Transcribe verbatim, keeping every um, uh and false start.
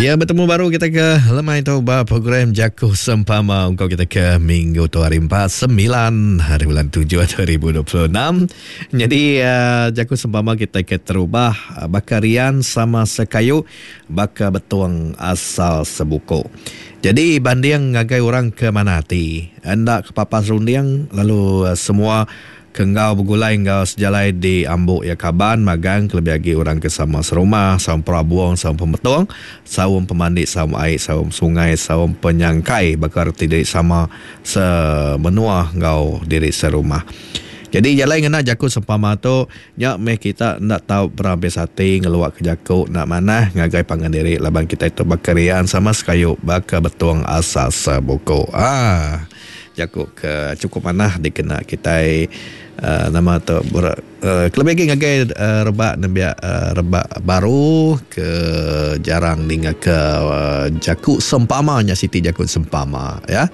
Ya, betemu baru kita ke lemai tu ba program Jaku Sempama ungkup kita ke minggu tu hari empat sembilan hari bulan tujuh dua ribu dua puluh enam. Jadi uh, Jaku Sempama kita ke terubah baka rian sama sekayu baka betung asal sebuku. Jadi banding ngagai orang ke mana hati, enda kepapas runding lalu uh, semua kenggau begulai enggau sejalai di ambuk ya kaban magang kelebih lagi orang ke sama serumah, saum perabung, saum pemetong, saum pemandi, saum air, saum sungai, saum penyangkai bakal reti diri sama semenua enggau diri serumah. Jadi jalai ngena jaku sempama tu nya meh kita ndak tau berhabis hati ngeluak ke jaku nak manah ngagai pangan diri laban kita itu bakarian sama sekayu baka betung asal sebuku. Ah, jaku ke cukup manah dikena kita uh, nama tu ber, uh, kelebih lagi ngagai uh, rebak nembiak uh, rebak baru ke jarang ninga ke uh, jaku sempama nya siti jaku sempama ya.